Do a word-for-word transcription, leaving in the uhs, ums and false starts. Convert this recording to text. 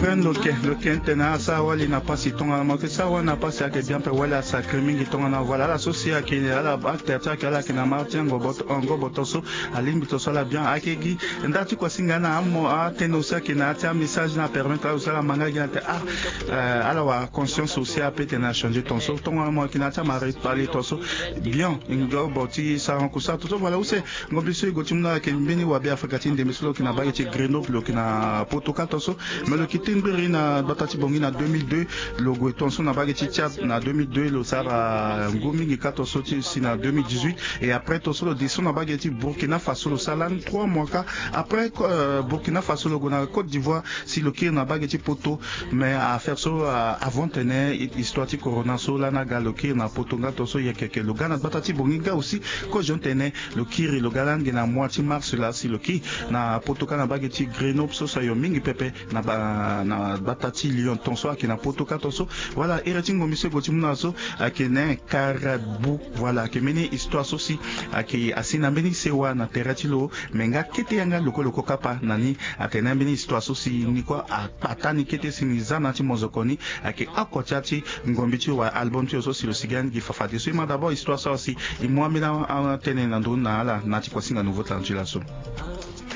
Pren lo ke lo ke tene asara wali na pasi tongana mo yeke sara wali na pasi ayeke bien ape wali asacré mingi tongana voilà ala so si ayeke ala acte ti ayeke ala yeke na mara ti angobo tonso. Alingbi tonso ala bien ayeke gi nda ti kuasinga na amo atene aussi ayeke na ya ti amessage ni apermettre ala aussi ala ma nga gi ate ah. Ala wara conscience aussi ape tene achangé tonso tongana mo yeke na ya ti amara ekpale tonso. Bien ngobo ti sarangu kusara tonso voilà use. Ngombe so e gue ti mu na ayeke mbeni wabe afrika ti ndembe so lo yeke na mbage ti grenoble lo yeke na poto kâ tonso. Mais lo yeke tingbiri na gbata ti bongi na deux mille deux. Lo gue tonso na mbage ti tchad na deux mille deux lo sara ngu mingi kâ tonso ti si na deux mille dix-huit. Et après tonso lo descend na mbage ti burkina faso lo sara lani trois mois kâ. Après burkina faso lo gue na côte d'ivoire si lo kiri na mbage ti poto. Mais affaire so avant tene histoire ti corona so lani aga lo kiri na poto nga tonso yeke yeke lo ga na gbata ti bongi nga aussi. Kozo tene lo kiri lo ga lani gi na mois ti mars laa si lo kiri na poto kâ na mbage ti grenoble so sayo mingi pepe. Na gbata ti lyon tonso ayeke na poto kâ tonso. Voilà ere ti ngombe so e gue ti mu na so ayeke na karabu. Voilà ayeke mbeni histoire so si ayeke asi na mbeni sewa na tere ti lo. Me nga kete yanga lokoloko kapa na ni atene ambeni histoire so si ni kue akpata ni kete si ni za na ya ti mozoko ni. Ayeke oko ti ya ti ngombi ti wa album ti lo so si lo sigi ani gi fafade so e ma d'abord histoire so si e mu ambeni atene na ndö ni na ala na ya ti kuasinga nouveau talent ti laso.